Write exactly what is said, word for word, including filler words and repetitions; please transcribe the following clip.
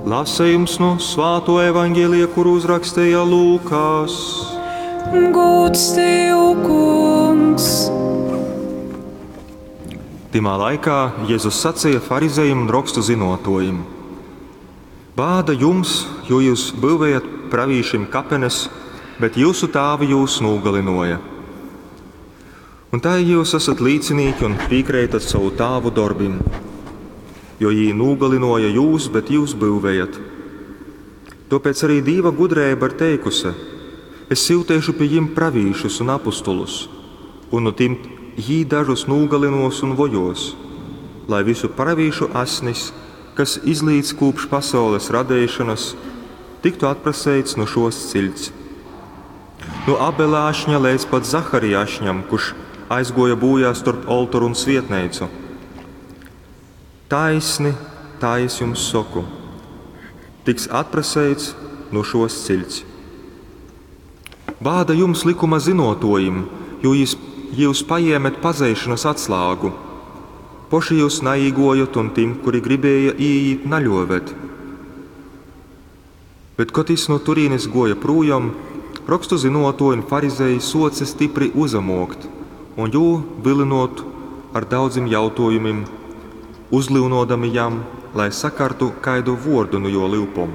Lasejums nu Svātuo Evangelija, kuru uzraksteja Lūkas. Gūds tev, Kungs! Tymā laikā Jezus saceja farizejim un rokstu zynuotuojim: Bāda jums, jo jūs byuvējat pravīšim kapenes, bet jūsu tāvi jūs nūgalynuoja. Un tai jūs esat līcinīki un pīkreitat sovu tāvu dorbim, jo jī nūgalynuoja jūs, bet jūs byuvējat. Tuopēc arī Dīva gudreiba ir teikuse: Es syuteišu pi jim pravīšus un apustulus, un nu tim jī dažus nūgalynuos un vojuos, lai visu pravīšu asnis, kas izlīts kūpš pasaules radeišonas, tiktu atpraseits nu šuos ciļts. Nu Abela ašņa leidz pat Zaharija ašņam, kurš aizguoja būjā storp oltoru un svietneicu. Taisni, tā es jums soku, tiks atpraseits nu šuos ciļts. Bāda jums, likuma zynuotuojim, jo jūs, jūs pajēmet pazeišanas atslāgu. Poši jūs naīguojot un tim, kuri gribēja īīt, naļuovet. Bet, kod jis nu turīnes guoja prūjom, rokstu zynuotuoji un farizeji suoce stipri uzamuokt un jū vylynuot ar daudzim jautuojumim, uzlyunodami jam, lai sakartu kaidu vuordu nu juo lyupom.